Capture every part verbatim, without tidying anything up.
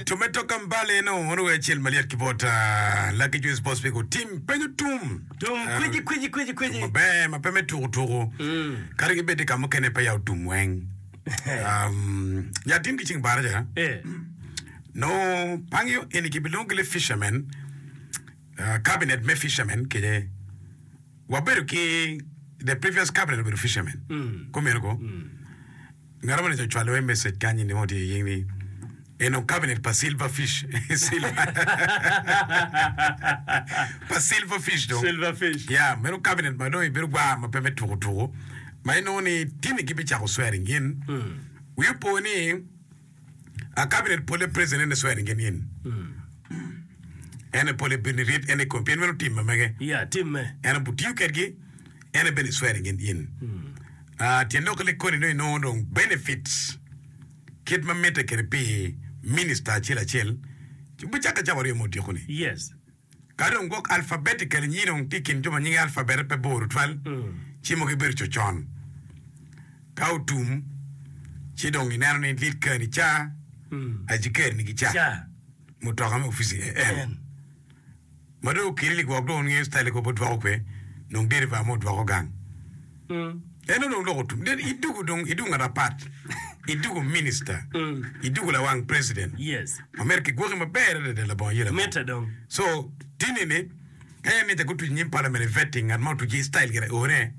Tomato Kambale no ono we acel malyet ki bot Lucky Juice Boss Pico tim penyo tum. Tum kweci kweci kweci kweci. Tum maber ma pe me tuku tuku. Kadi ki bed ka mukene pe ya otum weng. Um, ya tim ki cing baraja. Eh. No pangyo eni ki bilongo ki le fishermen. Uh, cabinet me fishermen kede wabedo ki the previous cabinet obedo fishermen. Mm. Kumeno ko. Ngat moni ocwalo iye message kany ni tye ying ni eno cabinet pa silver fish. Silver. Pa silver fish dong. Silver fish. Yeah, meno cabinet ma dong ibedo gwar ma pe me tuku tuku. Ma inongo ni tini gibicako swearing in. Wiyi opo ni a cabinet pole president ene swearing in in. Ene pole bino irit ene kom pien meno tim ma mege. Yeah, timme. En obutiyo kedgi ene bene swearing in in. Ah, tyen lok ni koni dong inongo dong benefits kit ma mitte kwede pi minister acel acel bicakke cawa aryo me odiko ni. Yes. Ka dong gwok alphabetically nyi dong tye i kin jo ma nyinge alphabet pe bor tutwal ci mogo gibedo cocon. Ka otum ci dong ineno ni lead car ni ca, ajikeri ni gica, Ca. mutoka me ofici en. En. Ma dong okeli ni gwok dong ngeyo style ko odwoko kwe dong deriva mo odwoko gang. En dong loko tum. Then idugo dong idugo ngat apat. Idugo minister. Idugo lawang president. Yes. Ma myero kigwoki maber adada labongo yela mo. Mitte dong. So tini ni ka en ni gutuc nyim parliament i vetting ngat ma otuc ki style gire one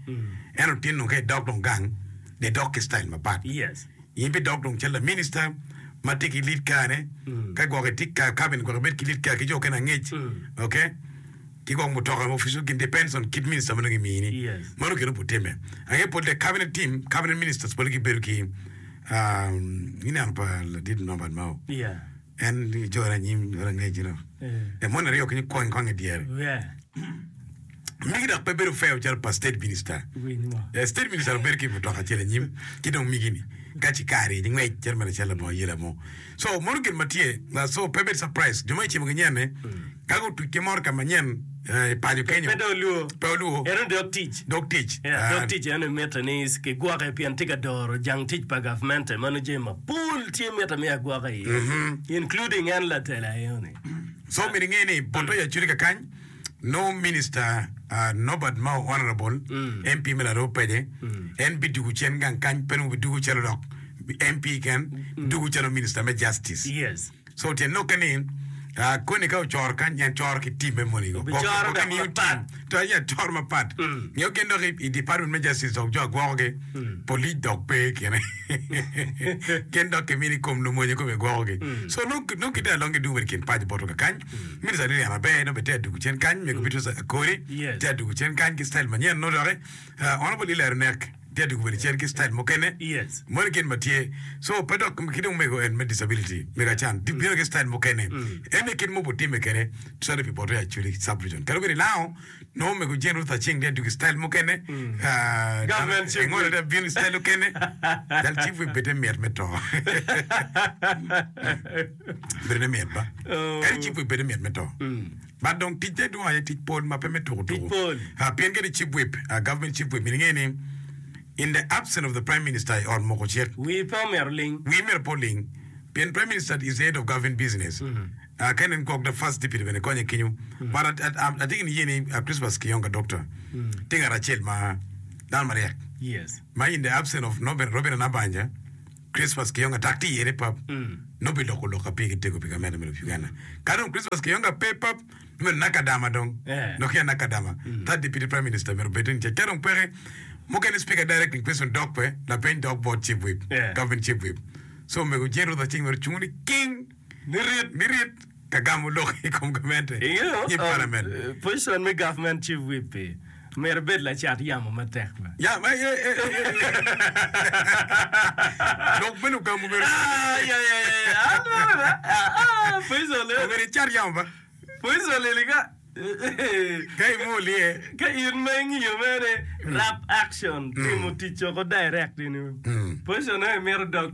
en otin dong ka idok dong gang de dok ki style mapat. Yes. In bi dok dong calo la minister ma tye ki lead car ne ka gwok itye ka cabinet gwok ibed ki lead car ki jo okene angec okay ki gwok mutoka ma official gin depends on kit minister ma dong imini Yes. mano kene obo time ange pol the cabinet team cabinet ministers pole gibedo ki um, ineno pa ladit Norbert Mao Yeah. en jore anyim jore angec you know Eh. e mon aryo kenyo kwang kwang i dyere Yeah. Migi dok pe bedo fair calo pa state minister. Winy mo. Eh, state minister obedo ki mutoka acel anyim ki dong migi-ni ka ci kare ni ngwec calo mere calo labongo ayela mo. So mono gin ma tye, uh, so pe bed surprise jo ma icimo ki nyen-ni ka gutuc ki motoka manyen eh, i paco kenyo Pe dong olwor. pe olwor Eno dog tic. dog tic. Yeah, Ah, dog tic eno mitte ni kigwoke pien tye ka doro jang tic pa gavmente mano jami mapol tye mitte me agwoka iye including en latela eno-ni. So myero inge ni poto i Acholi kakany No minister Norbert Mao Honourable M P me Laroo Pece en bidugu cen gang kany pe nongo bidugu calo dok M P ken dugu calo minister me justice. Yes. So tyen lokke ni koni ka ocoro kany en coro ki team me moni go. Obicoro Gwokke dok miyo mapat. team to aye coro mapat. Ngeyo gin dok i department me justice dok jo agwoko gi police dok pe i kine. Gin dok kimini kom lumonye kome gwoko gi. So nongo nongo gitye along gidugo bene kin paco botwa kakany. Minister Lilian Aber nongo bene tye adugo cen kany, mego Beatrice Akori Yes. tye adugo cen kany ki style manyen nongo doki uh, Honorable Eli Arunek tye adugo bene cen ki style mukene. Yes. Moni gin ma tye. So pe dok ki dong mego en me disability, mego Acan tye bino ki style mukene. En aye kit ma obotime kwede cwalo pi bote Acholi sub region. Kadi obedo ilango nongo mego Jane Ruth Aceng tye adugo i style mukene. Uh, Government chief Engolo whip. tye bino i style mukene. Dal chief whip bede mit me to. Bedo ne mit ba. Kadi chief whip bede mit me to. But dong ticce dwong aye tic pol ma pe me tuku Tic tuku. pol. Ah, pien kadi chief whip, ah, government chief whip, myero inge ni in the absence of the prime minister i ot moko cik, Wii pe omyero oling. wii myero pe oling pien prime minister is the head of government business. Ah, ka inen gwok the first deputy bene konye kenyo. But at, at, at, atye ki niye ni ah, Christmas Kiyonga doctor tye ngat acel ma dano maryek Yes. ma in the absence of Robin, Robin Anabanja, Christmas Kiyonga tak tye iye ni pap nongo biloko lok ka pigi tego pi gamente me lobo Uganda. Ka dong Christmas Kiyonga pe pap myero Nakadama dong Eh. dok ya Nakadama third deputy prime minister myero obed ni tye. Ka dong peke mukene speaker directing question dok pe lapeny dok bot chief whip Yeah. government chief whip. So omego Jane Ruth Aceng myero ocung ni king Nirit. nirit ka gamo lok i kom gamente Ingeyo, i um, parliament. eh, position me government chief whip-pi myero ibed lacat yamo matek ba. Ya, ma, eh, eh, eh, eh. Lok bene ogamo myero Ah, ya, ya, ya, ya. Ah, no, no, ah, ah, position le- myero icat yamo ba. position leli ka Ka imol iye. Ka in ma ingiyo mere rap action timo tic oko direct ini. Position ne imito dog.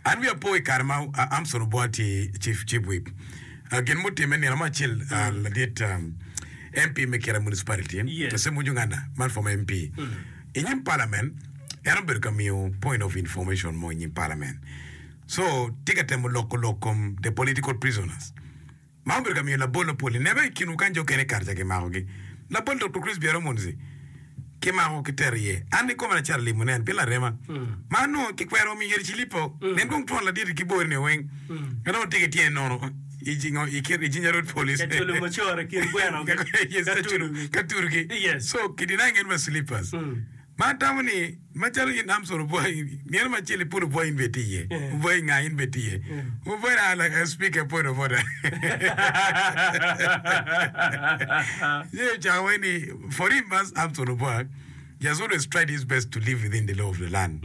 An wiya po i kare ma Armstrong Obua tye chief chief whip. Gin mutimme nino mo acel ladit M P me Kira Municipality Yes. Ssemuju Nganda man former M P i nyim parliament en obedo ka miyo point of information mo i nyim parliament. So tye ka temo loko lok kom the political prisoners. Ma obedo ka miyo labol mapol ni nebe i kinwu kany jo okene kare ca kimakogi. Labol Doktor Chris Byeromunzi kimako kitero iye. An kikome acito alimo nen pien larema. Ma anongo kikwero omiyo yeri cilipo. Nen kong twon ladit ki bori ni weng. En onongo tye ki tyene nono i jingo i kit i Jinja Road Police. Ka culo mucoro i kin gweno gi. Yes, Ka ka culo, turugi. ka turugi. Yes. So ki denying en wa slippers. Ma atamo ni macalo in Amson obwoyi, nino ma acel ipul obwoyi in bene itye iye, obwoyi nga in bene itye iye. Obwoyi na like a speaker point of order. Ye ocako wai ni for him as Amson Obwak, he has always tried his best to live within the law of the land.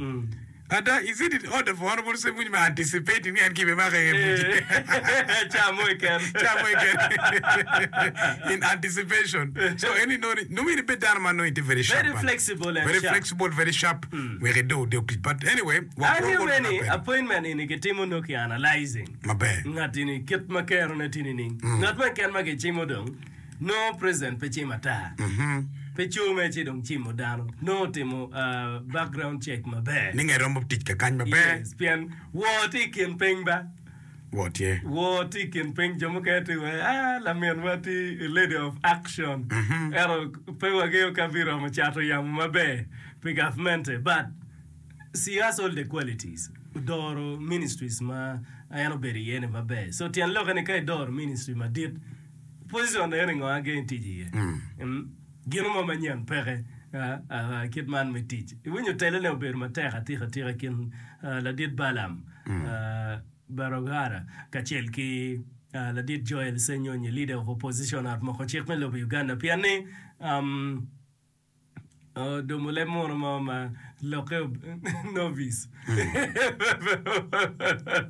Ada, is it in order for Honorable Semunyi me anticipating ni en kibimake i buc? Ca mo keken. Ca mo keken. In anticipation. So en inongo ni, nongo in ibed dano ma nongo itye very sharp. Very man. flexible and Very sharp. flexible, very sharp. Wek ido dog tic. But anyway, wa Angeyo kwo bene ni maber. appointment eni kitimo nongo ki analyzing. Maber. Ngat eni kit ma kerone tye nining. Ngat mo keken ma kicimo dong, nongo president pe cimo ata. Pe coo ci dong cimo dano. Nongo otimo uh, background check maber. Ni nge romo tic kakany maber. Yes, pien woo tye i kin piny ba. Woo tye. Woo tye i kin piny jo mukene tye wa ah laminwa tye a lady of action. Ento pe wangeyo ka biromo cato yamo maber pi gavmente but she has all the qualities. Odoro ministries ma en obedo iye ni maber. So tyen lokke ni ka idoro ministry madit position eni ngo agen tic iye. Mm. Gino mo manyen peke ah, ah, kit man me tic. Iwinyo telone obedo matek atika atika kin ah, ladit Balaam ah, Barugahara kacel ki ah, ladit Joel Ssenyonyi leader of opposition at moko cik me lobo Uganda pien ni um, oh, domo leb muno mo ma lokke ob- novice.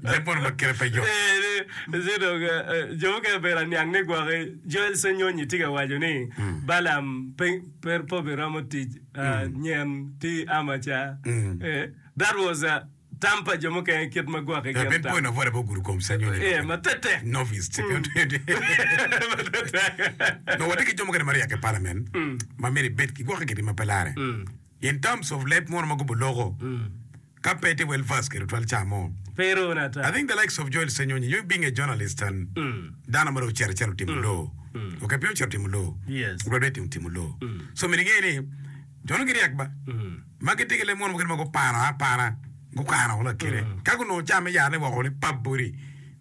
Leb mono ma kite pe yot. Eh, ci dong, eh, eh, jo mukene obedo aniang ni gwoki Joel Ssenyonyi tye ka waco ni Balaam pe pe pe obiromo tic ah, nyen tye amaca. Eh, that was uh, tam pa jo mukene kit ma gwoki gin Ben tam. point of order pe ogudo kom Ssenyonyi. Eh, ma tetek. Novice. Ma tetek. No, watye ki jo mukene ma ryek i parliament ma myero ibed ki gwokke kidi ma pe lare. In terms of leb mono ma gubo loko, ka pe tye well versed kede twal ca mo. Pe irone ata. I think the likes of Joel Ssenyonyi, you being a journalist and dano ma dong ocito acito otimo law. Okay, pe ocito otimo law. Yes. Graduate otimo law. So myero inge ni jo no giryek ba. Ma gitye ki leb mono mukene ma gupano apana, gukano lakite. Ka gunongo ca me yarne woko ni pap boti,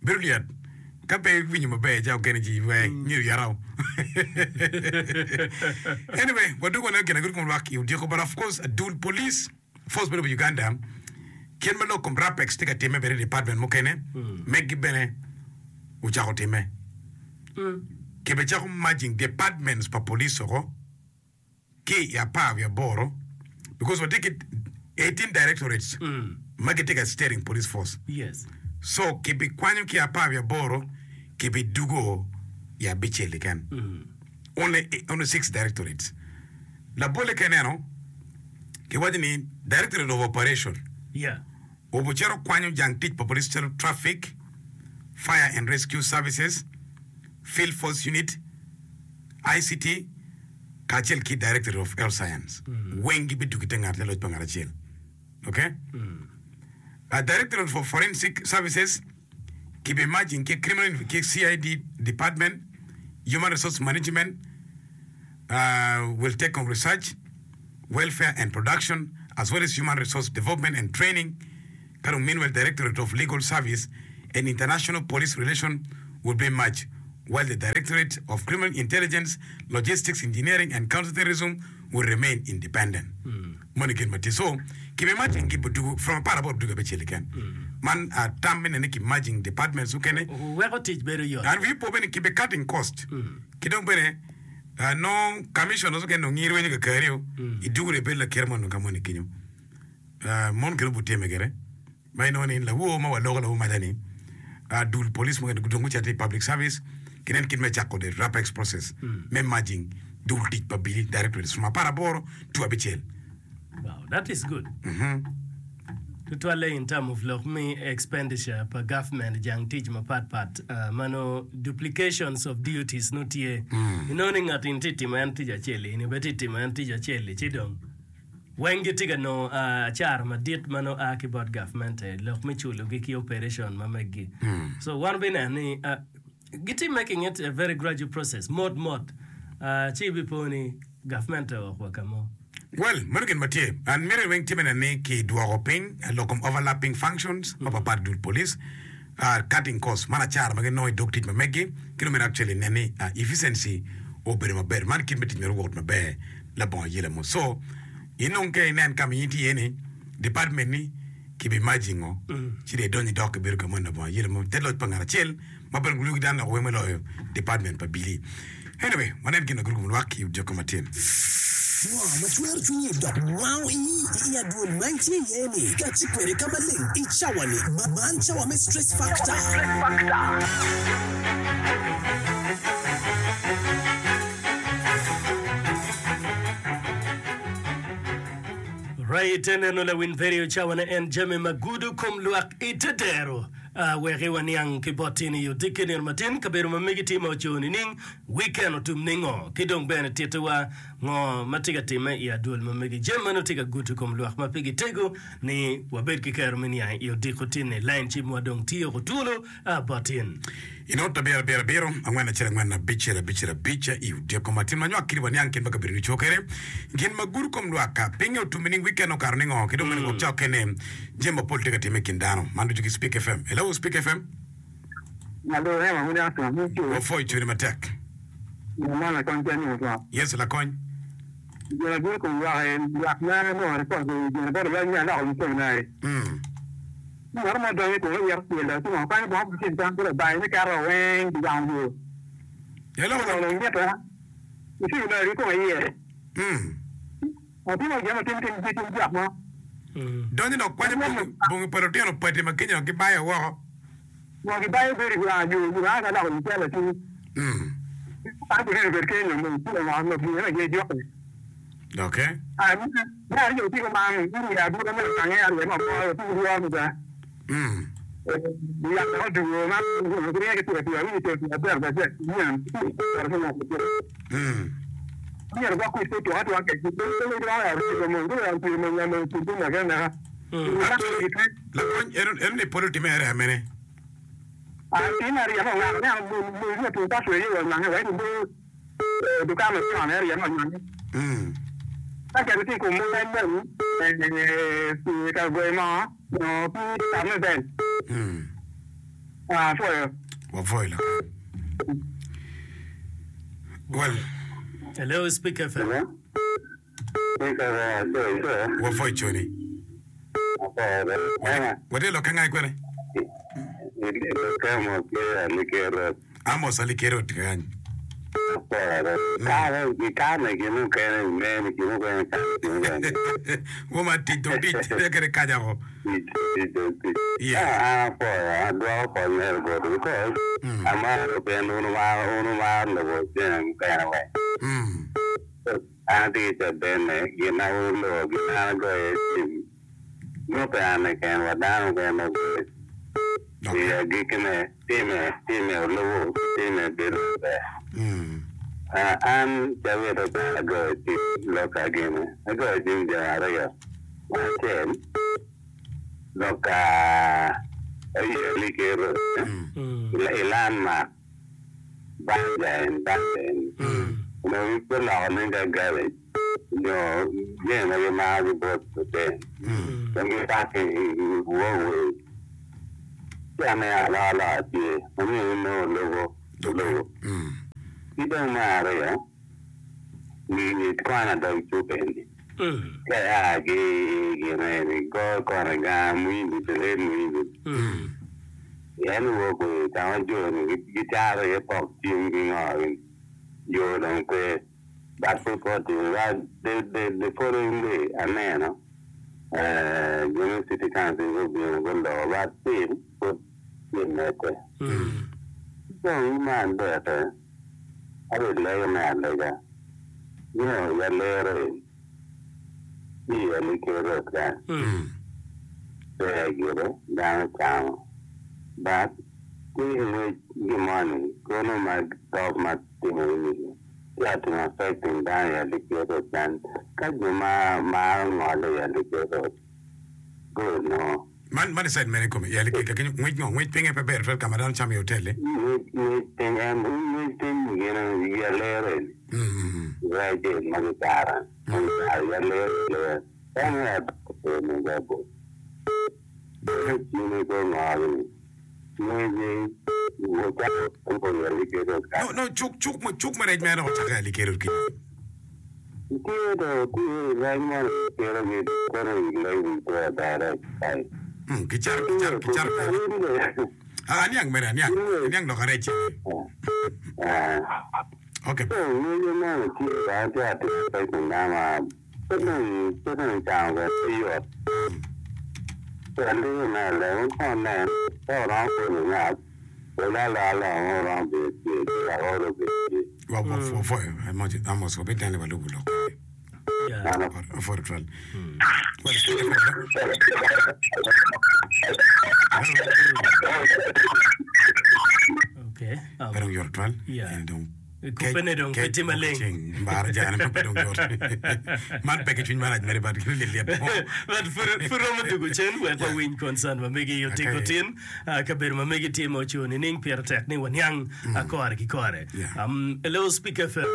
bedo lyet. Ka pe iwinyo maber ca okene ci we nyiro yata. Anyway, wadwogo waneno gin agudo kom lwak i odiko, but of course adul police force me lobo Uganda kit ma lok kom Rapex tye ka timme bene i department mukene meggi bene ocako timme. Kibicako merging departments pa police oko ki i apar wiye aboro because watye ki eighteen directorates ma gitye ka steering police force. Yes. So kibikwanyo ki apar wiye aboro kibidugo i abicel keken. Only, only six directorates. Labolle ka ineno, kiwaco ni Directorate of Operation Yeah. obocito kwanyo jang tic pa police calo Traffic, Fire and Rescue Services, Field Force Unit, I C T, kacel ki Directorate of Health Science. Weng gibidugo i te ngat laloc pa ngat acel. Okay? Uh, Directorate for Forensic Services kibi merging ki Criminal ki C I D Department, Human Resource Management uh, will take on research, welfare and production, as well as human resource development and training. Kano meanwhile, Directorate of Legal Service and International Police Relations will be merged, while the Directorate of Criminal Intelligence, Logistics, Engineering and Counterterrorism will remain independent. Moni gin ma tye. So, kibi merging ki budugu, from apar aboro budugu abicel keken. Man, uh, tam mene ni ki merging departments mukene. Weko tic bedo yot. And we po bene kibi cutting cost. Ki dong bene, uh, no commissioners mukene nongo ngiro wenyo kakario, idugu re bedo lakere mono ka moni kinyo. Uh, mon kelo buteme kere. Ma inongo ni lawo ma waloko lawo madani, uh, dul police mukene dong gucito i public service, kinen kit me cako the Rapex process, me merging dul tic pa bili directorates from apar aboro to abicel. Wow, that is good. Tutwalle in term of lok me expenditure pa government jang tic mapat pat uh, mano duplications of duties no tye. Inongo ni ngat in tye timo en tic acel-li, in bene tye timo en tic acel-li, ci dong Weng gitye ka nongo acara madit ma nongo a ki bot gavmente lok me culogi ki operation ma meggi. So wan bineno ni gitye making it a very gradual process mot mot ci ibipo ni gavmente owok wa ka mo. Well, meno gin ma tye. An miti weng tye me neno ni kidwoko piny lok kom overlapping functions mapapat i dul police, cutting costs, man acara ma ginongo i dog tic ma meggi, ki dong myero actually nen ni efficiency obedo maber. Man kit me tic myero owot maber labongo ayela mo. So, inong ka inen ka ma in itye iye ni, department ni kibi merging-o, ci dong idonyo idok ibedo ka moni labongo ayela mo. Te loc pa ngat acel ma bene gulugi dano dok weng me loyo department pa Billy. Anyway, wanen gin ma guruko lwak i odiko matin. Ngo ma cwero cwinyi dok wango ii i adwol ma itye iye-ni? Kati kwede ka maleng i cawa-ni. Man cawa me Stress Factor. Right, eneno lawiny vedio cawa ne en jami ma gudo kom lwak i te dero. Wek waniang ki bot tin i odiki nino matin kabedo ma megi tye ma oco nining, weekend otum ningo, ki dong bene tittiwa ngo ma tye ka timme i adwol ma megi. Jami meno tye ka gudo kom lwak ma pigi tego ni wabed ki kero me niang i odiko tin-ni. Lain cimwa dong tye oko twolo bot tin. I not abiro abiro abiro, angwen acel angwen abicel abicel abic i odyeko matin ma nywak kidi waniang kit ma kabedo ni cwo kwede gin ma gudo kom lwak pinye otum nining weekend okato ningo ki dong bene gwok cawa kene jami mapol tye ka timme i kin dano man ducu ki Speak F M. Hello Speak F M. Wapwoyo cwini matek. Yes lakony. Mm. Ngat mo donyo i kome ito tyelo ci ngo kwanyo bongo ki cen cam ci labayo me keto weng ki wango yo. Hello. Ci onongo mite ci onongo ki kome iye. Mm. Atimo gin ma tim tim tim tim jok mo. Donyo dok kwanyo bongi, bongi pa lutino pati ma kenyo gibayo woko. Ngo gibayo bedo i wang yo nyo anga loko i cel atir. Mm. An bene bed kenyo mo ci onongo ngo gin aye joki. Okay. Ah, me aryo tye kuman, ni abita me lange aryo ma moro tye ki lworo mada. Mm. Yak dok odwogo ma giringe ki pira pira winyo cel pira adek adek nyen Mm. myero gwok kwit pe tuka atuka kec pe pe giromo ya rego mony guromo piro mony ya mony pir neke neka. Actually, lakony eno eno ni polo time area mene. Tim aryo ma ongako neno mony mony tuka cwe yo nyange wa ibo dukan ma con area ma nyange. Mm. Ka keto tye i kom mony mony ka goyo moo nyo pi tam me bel. Mm. Ah, pwoyo. Wapwoyo lakony. Well, Hello, Speak F M. Wapwoyo coni. Watye lokke ngai kwene? Amos Alikero tye kany. Woma tic dong tic tye kede kaja ko. Yes. Mm. Mm. An atye ki cabenne gin ma wun wulubo gin an agoyo iye cim nongo pe an keken wa dano mukene ma ogoyo i Okay. agikkine time time olubo time bedo maber. Mm. Ah, an cabit okato agoyo cim lok gini agoyo cim jo aryo acel lok ayeli kero Mm. i landmark banja en banja en onongo giloko nen calo garbage nyo jami ma gimako ki bot hotel dong gipaki i walkway ci aneno alokaloka tye ma myero inongo olubo olubo Mm. ki dong me aryo ni kwana dog cuk eni ka ia ki i gin eni go kona gang Muhindi the late Muhindi en walkway ka ma jo-ni gicato iye pok cim ki ngo yo dong pe but pud pe otimo but the, the, the following day aneno eh, jo me city council gubino guloko but still pud tye medde dong me adeke abe lego me alega you know ya lero en i Alikero kany ber gire dano camo but tye ki ngwec gimoni kono ma top ma timo ini Tye ka timo affecting dano i Alikir Road man ka jo ma maro ngole i Alikir Road gunongo. Man man i side mene kome i Alikir ka kenyo ngwec ngo ngwec pinge pe ber twal ka ma dano camo i hotel-li. Ngwec ngwec piny en ngwec piny gin i alere ni Mm. rec en ma gicaro ma gicaro i alere alera en aye ni ga bot cwinye pe ongolo ni ngwece ocako i Alikir Road No no cuk cuk cuk me rec mere dok ocakke i Alikir Road kenyo. Tye do tye rec mo kelo gi kono i lady to direct kai. Mm, kicato kicato kicato Ah, aniang mere aniang aniang lok arec. Ah. Okay. So ngwece mo tye ka tye atimo affecting dano pe dong pe dong icamo bene pe yot. Alego me alego kon nen ka oromo polo ngat wek alo alo mo oromo bedo tye wek olo bedo tye. Wa wa wa foyo Amos Amos wabitene walubo lok. Yeah. Mano Foyo twal. Well, Okay. Um, pe dong yot twal. Yeah. En dong Kubbe ne dong pe tye maleng. ceng mbara jane ma pe dong yot. Man pe ki cwiny marac mere but gin lilyet mo. But pud pud romo dugo cen wek wawiny concern ma megi otiko Okay. tin ah, kabedo ma megi tye ma ocung nining pire tek ni waniang ah, kore ki kore. Yeah. Um, hello Speak FM.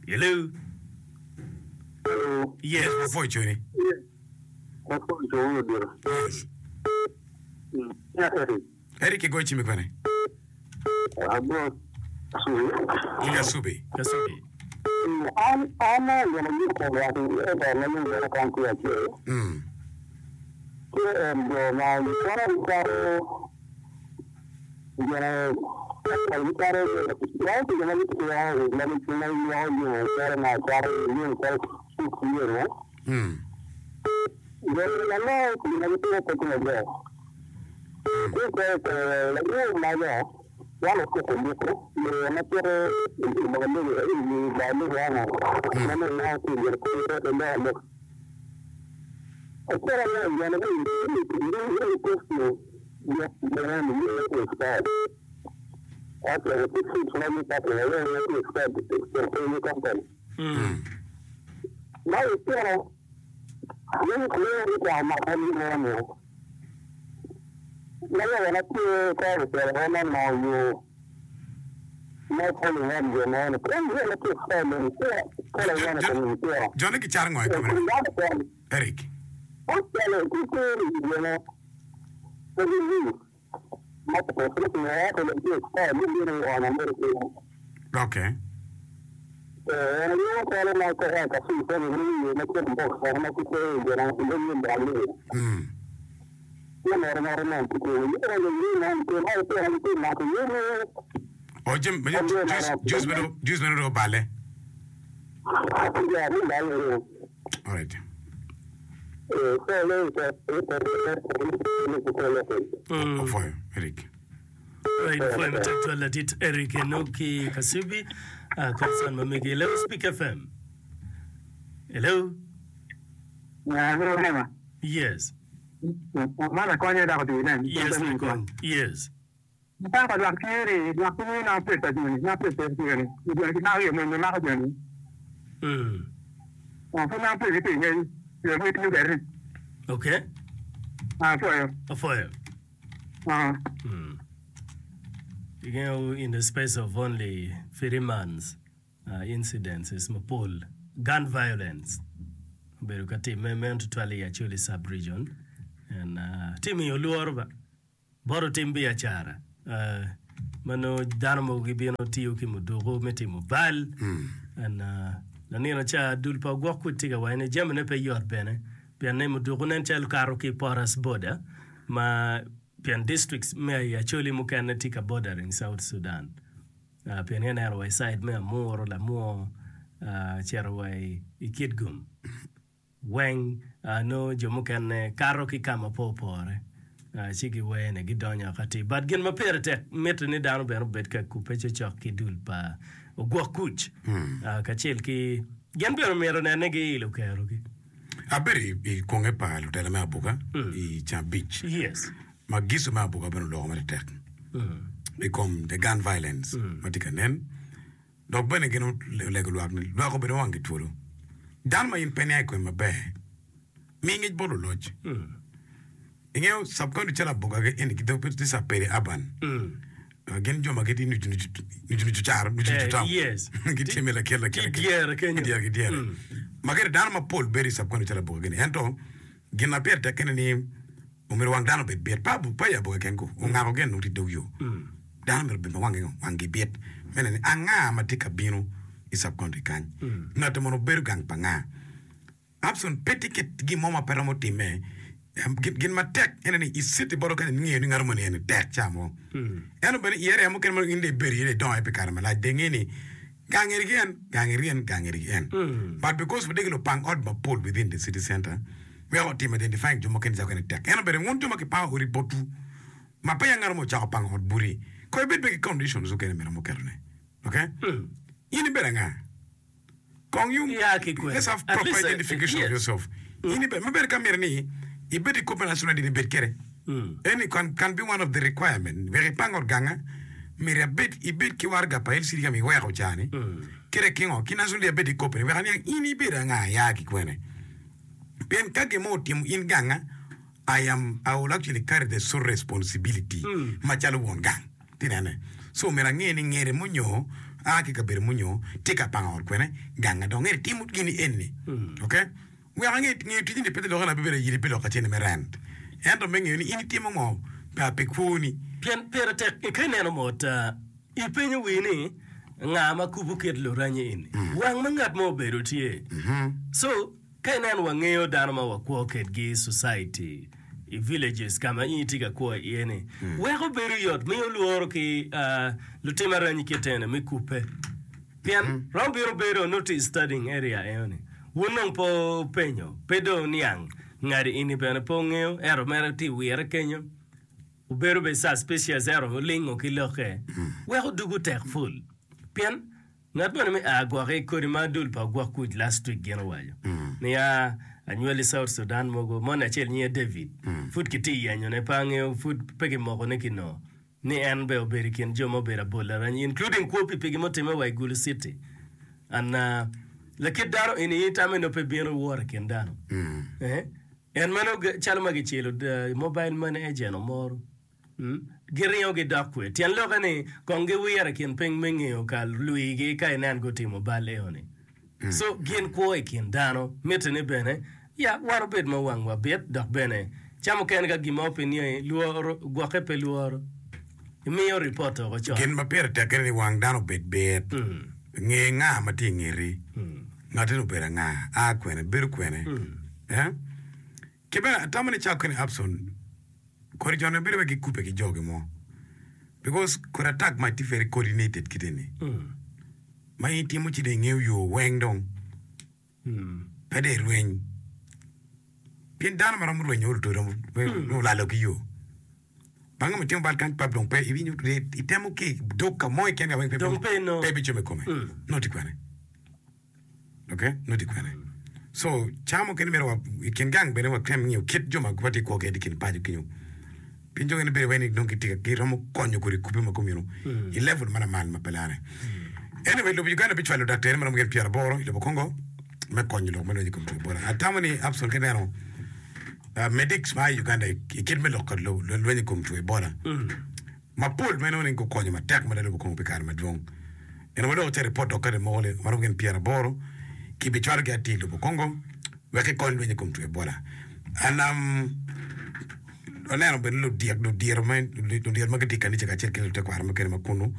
Hello. Yes. Wafoyo coni. Yes. Eric igoyo cimi kwene? Ki Kasubi. Kasubi. An an gin ayuto lwak ento ma yung bene kon tye acel. Mm. Tye en jo ma gicwalo gicwalo gin gicwalo wao ki jo ma gitye ma gilwoko jami calo ma cwalo jami calo six years. Mm. Jo ma nongo gin ma gitimo pe tye maber. Tye calo lawo mago wan otuko buko yo ma cito i bar lego i bar lego ano ma nongo tye i gin kwo te loko lok. Acel aye gin ma kosti gin ni tye expired. Ento tye fruits ma gipako aye ma tye expired i company. Mm. Ma itino yin kulo ikwako mako ni mo ma yo na tye ka otelo ma nongo yo ma polo ngam jo mo ni kun yo ma tye expired ni tye kola yana ko ni tye. Jone gicaro ngo i kome? Eric. Otelo ki kuri jo mo ko ni ma ko ko ni ko ni tye expired ni ni ona mo ko. Okay. Eh, yo kola ma ko ka si ko ni ni ma ko ko ko ma ko ko jo na ko ni ba ni. Mm. Yo no no no ko ko yo no ni no ko ma ko ni ko ma ko yo no. O jim juice juice meno juice meno do bale. Ya ni ba ni. All right. Eh, so le ko ko ko ko ko ko. Mm. Ofoyo Eric. Right, for matek twal ladit Eric Enoki Kasubi uh, concern ma megi. Hello Speak FM. Hello. Ya, bro nema. Yes. Ma la konye da ko ti nen. Yes, Lakony. Yes. Pa pa lwak tye ni lwak tye na pesa joni na pesa joni. Joni ki na yo mo ma ko joni. Mm. Ah, fu na pesa ti ngai. Yo mo ti gari. Okay. Ah, so yo. Afoyo. Ah. Mm. You know, in the space of only three months, uh, incidences mapol gun violence obedo ka timme meno tutwal i Acholi sub-region and uh, timiyo luoro ba bot otim biacara uh, ma nongo dano mogo gibino tiyo ki muduku me timo bal and uh, lanino ca dul pa ogwok kuc tye ka waco ni jamine pe yot bene pien ni muduku nen calo kato ki porous border ma pien districts me i Acholi mukene tye ka bordering South Sudan uh, pien ineno wa i side me Amuru, Lamwo uh, cito wa i, i Kitgum weng uh, nongo jo mukene kato ki ka ma pe opore uh, ci giwene gidonyo ati but gin ma pire tek mitte ni dano bene obed ka kubbe cocok ki dul pa ogwok kuc uh, kacel ki gin bene myero nene giilo kerogi Abedo i, i kwonge pa lutela me Abuka i Cambic. yes Ma giso me Abuka bene oloko matek mm. i kom the gun violence ma tye ka nen. Dok bene gin olego lwak ni lwak obedo wanggi twolo. Dano ma in pe niang i kome maber, mi ngec bot luloc. Ingeyo sub-county calo Aboga gi eni gidok pe tye sub-peri urban. Uh, gin jo ma gitye nucu nucu nucu nucu caro nucu nucu Eh, town. yes. Gitye me lakel lakel Ki dyere kenyo. Ki dyere ki dyere. Ma kede dano mapol bedo i sub-county calo Aboga gini. Ento gin ma pire tek kene ni omyero wang dano obed bit. Pa pa i Aboga ken ko ongako gen nongo tye i dog yo. Dano myero obed ma wangi ngo wanggi bit. Me neno ni anga ma tye ka bino i sub-county kany. Ngati mono obedo gang pa nga. Abson pe tye kit gin mo ma pe romo timme. Em, Gin gin matek ene ni i city bodo kany ingeyo ni ngato moni eni tek ca mo. Ento bene i area mukene ma in dong ibedo iye dong idongo iye pi kare malac dong inge ni gang eni ki en, gang eni ki en, gang eni ki en. But because watye ki lupang ot mapol within the city center, weko otimo identifying jo mukene ca mukene tek. Ento bene wun jo ma kipango odi botwu ma peya ngato mo ocako pango ot boti, ko ibed bene ki conditions mukene myero muketone. Okay? In ibedo anga? Kong you Yeah, ki kwene. let's have At proper least, uh, identification of yes. yourself. In ibe maber ka myero ni ibed i copy national I D ni bed kede. Any can, can be one of the requirement. Wek ipang ot ganga, myero abed ibed ki waraga pa L C D ka ma iweko cani. Kede ki ngo, ki national I D abed i copy ni wek aniang in ibedo anga ya ki kwene. Pien ka gin mo otimo in ganga, I am, I will actually carry the sole responsibility macalo won gang. Tinene. So myero ange ni ngere munyo, a ki kabedo munyo, tye ka pango ot kwene, ganga dong ngere timo gini eni. Okay? Wek ange ngeyo tijni ni pe te loka na bibedo ayidi pi loka cene me rent. Ento me ngeyo ni in itimo ngo pa pi kwoni. Pien pire tek ka ineno mot, uh, ipenyo wi ni nga ma kubo kit luranyi eni. Wang ma ngat mo obedo tye. So, ka ineno wangeyo dano ma wakwo kedgi society i villages ka ma in itye ka kwo iye ni, weko bedo yot miyo lworo ki, uh, lutim aranyi kitene me kupe. Pien rom bino bedo noti studying area eno ni. Wun dong po penyo, pe dong niang ngadi ini bene po ngeyo, ento mere ti wire kenyo. Obedo be suspicious ero olingo ki loke. Weko dugu tek ful. Pien ngat moni me a gwoki kodi ma dul pa ogwok kuc last week gin owaco. Ni a anywali South Sudan mogo, moni acel nyinge David. Pud ki ti yenyo ne pa angeyo, pud pe kimoko ne kino. Ni en be obedo i kin jo ma obedo abol aranyi, including kwo pi pigi motime wa i Gulu City. And uh, lakit dano ini itame no pe bino wor i kin dano. Eh? En meno calo ma gicelo uh, mobile money agent omoro. Mm? Giringo gidok kwe. Tyen loke ni kong giwiro i kin piny me ngeyo ka lwigi ka inen gutimo bal eo-ni. So gin kwo i kin dano. Mitte ni bene ya wan obed ma wangwa bit dok bene ca mukene ka gin mo pe niangi lworo gwokke pe lworo. Imiyo report oko con. Gin ma pire tek ene ni wang dano obed bit. Nge nga ma tye i ngeti. Ngati ni obedo anga, a kwene, bedo kwene. Eh? Ki bene atamo ni cako kene Abson, kodi jo-ni bedo wek gikube ki jogi mo. Because kodi attack ma tye very coordinated kite ni. Ma in itimo ci dong ingeyo yo weng dong. Pe dong irweny. Pien dano ma romo rwenyo olo to romo olalo ki yo. Bang'e ma timo bal kany pap dong pe iwinyo itemo ki dog ka mo keken ka weng pe Dong pe inongo. pe bicomo i kome. Nongo tye kwene. Okay? Nongo tye kwene. So ca mukene myero wa i kin gang bene watem ngiyo kit jo ma watye kwo kwede i kin paco kenyo. Pien jo mukene bedo wai ni dong gitye ka giromo konyo kodi kubbe ma komyeno i level ma lamal ma pe lare. Anyway, lobo Uganda bicwalo daktari ma romo gin pyeraboro i lobo Congo me konyo lok me lweny i kom two Ebola. Atamo ni Abson ka ineno uh, medics ma i Uganda i i kit me lok ka lo- lo- lweny i kom two Ebola mapol ma inongo ni gukonyo matek mada lobo Congo pi kare madwong. Eno ma dong oce ripot dok kadi moko ni maromo gin pyeraboro kibicwalogi atir i lobo Congo wek gikony lweny i kom two Ebola. And um, aneno bene ludyek ludiro ma ludiro ma gitye i kanica kacel ki lutekwaro mukene ma kunu